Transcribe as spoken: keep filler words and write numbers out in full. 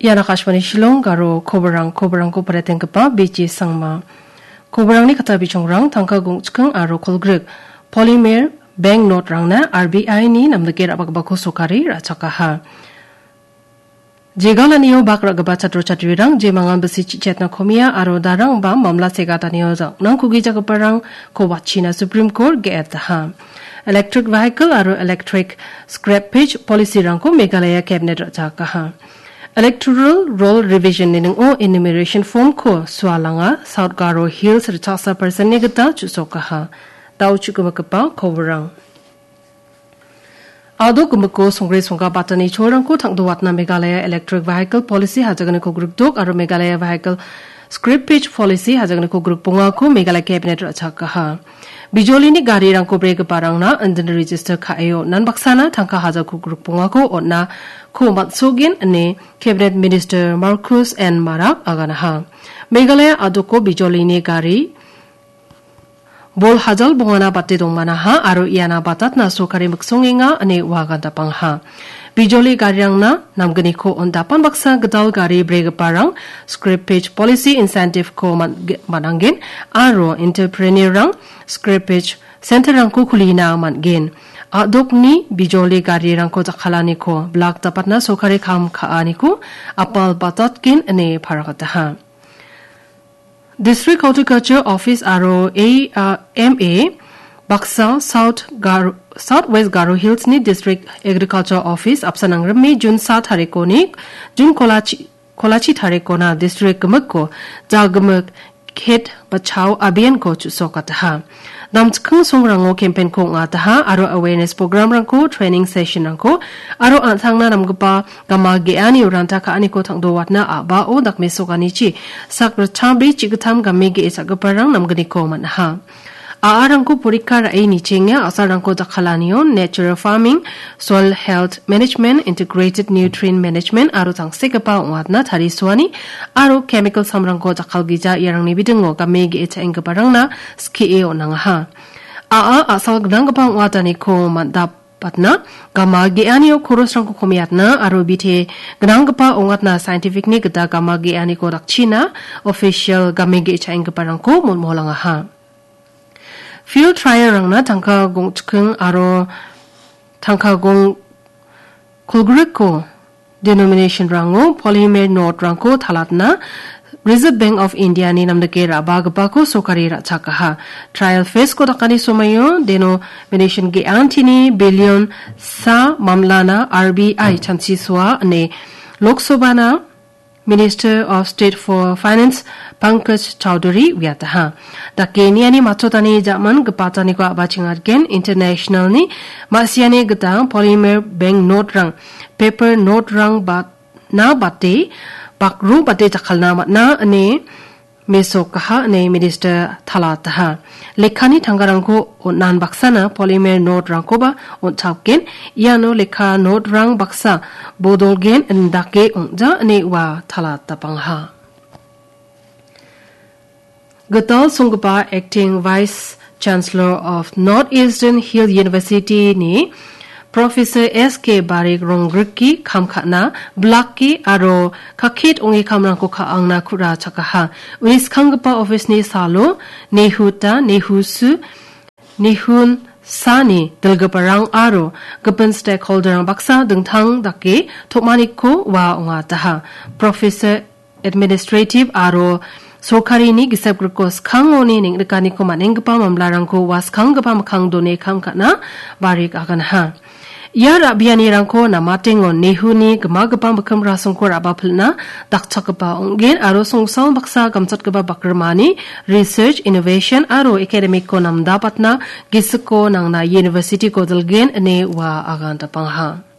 Ian Akashvani Shillong, Garo koborang, koborangko paretenggipa B J Sangma. Koborangni kata bijongrang tangka gongchikking aro kolgrik polymer bank note-rangna R B I-ni namdike ra·bagipako sokari ra·chakaha. Jegalanio bak ra·gipa chatro chatrirang jemangan bisi chichetna komia aro darangba mamla segatanio ja-, nangkugijagiparangko watchina Supreme Court ge·etaha. Electric vehicle aro electric scrappage policy-rangko Meghalaya Cabinet ra·chakaha. Electoral Roll Revision-ni ning·o enumeration form-ko sualanga South Garo Hills ritchaksa percent-ni gita chu·sokaha. Dao chu·gimigipa koborang. A·dok gimikko songre songga batani cholrangko tang·dowatna Meghalaya Electric Vehicle Policy hajagniko grikdok aro Meghalaya Vehicle Scrappage Policy hajagniko grikbongako Meghalaya Cabinet ra·chakaha. Bijolini garirangko bregiparangna indin register ka·e on·an baksana tangka hajalko grikbongako on·ako man·sogen ine Cabinet Minister Marcus N Marak aganaha. Meghalaya a·doko bijolini gari bol hajal bongana bate dongmanaha aro iana batatna sorkari miksongenga ine ua gandapangha. Bijoli garirangna namgniko on·dapan baksa gital gari bregiparang scrappage policy incentive-ko man-, ge-, man·angen aro entrepreneur-rang scrappage center-rangko kulina man·gen. A·dokni bijoli garirangko jakkalaniko blak dapatna sorkari kam ka·aniko apal batatgen ine paragataha. District Horticulture Office aro A, uh, M A baksa South Gar-, South West Garo Hills-ni District Agriculture Office apsan nangrime June sa tarikoni, June kolachi, kolachi tarikona district gimikko jagimik Khet Bachao Abhiyan-ko chu·sokataha. Namchikking songrango campaign-ko ong·ataha aro awareness program-rangko, training session-rangko aro an·tangna namgipa gama ge·ani ranta ka·aniko tang·dowatna a·bao dakmesoganichi sak ritchabri chi·gittam game ge·e cha·giparang namgniko man·aha. A·arangko porikka ra·e nichenga a·salrangko jakkalanio natural farming, soil health management, integrated nutrient management aro tangsekgipa ong·atna tarisoani aro chemical samrangko jakkalgija iarangni bidingo game ge·e cha·enggiparangna skie on·angaha. A·a a·sal gnanggipa ong·ataniko man·dap- batna, gama ge·anio korosrangko komiatna aro bite gnanggipa ong·atna scientific-ni gita gama ge·aniko dakchina official game ge·e cha·enggiparangko molmolangaha. Field trial-rangna tangka gongchikking aro tangka gong kolgrikko denomination-rango polymer note-rangko talatna Reserve Bank of India-ni namdike ra·bagipako sorkari ra·chakaha. Trial phase-ko dakani somoio denomination ge·antini billion sa mamlana R B I chanchisoa ine Lok Sabha-na Minister of State for Finance Pankaj Chaudhary uiataha. Dake niani matchotani ja·man gipataniko a·bachengatgen international-ni ma·siani gita polymer bank note-rang, paper note-rang ba na bate, bakro bate jakkalna man·a ine mesokaha ine minister talataha. Lekkani tangkarangko on·an baksana polymer note-rangkoba on·chapgen, iano lekka note-rang baksa bodolgen indake ong·ja ine ua talatapangaha. Gital songgipa Acting Vice Chancellor of North Eastern Hill University-ni Professor S K Barik ronggrike kam ka·na, blake aro kaket ong·e kamrangko ka·angna ku·ra chakaha. Uni skanggipa office-ni salo Nehuta, Nehusu, Nehun Sani dilgiparang aro gipin stakeholder-rang baksa dingtang dake tom·aniko ua ong·ataha. Professor Administrative aro sorkarini gisep griko skangoni neng·rikaniko man·enggipa mamlarangko ua skanggipa mikkang done kam ka·na Barik aganaha. Ia ra·bianirangko namatengon Nehuni gimagipa mikkim rasongko ra·bapilna dakchakgipa ong·gen aro songsal baksa gamchatgipa bakrimani research, innovation aro academic-ko namdabatna gisiko nangna university-ko dilgen ine ua agandapangaha.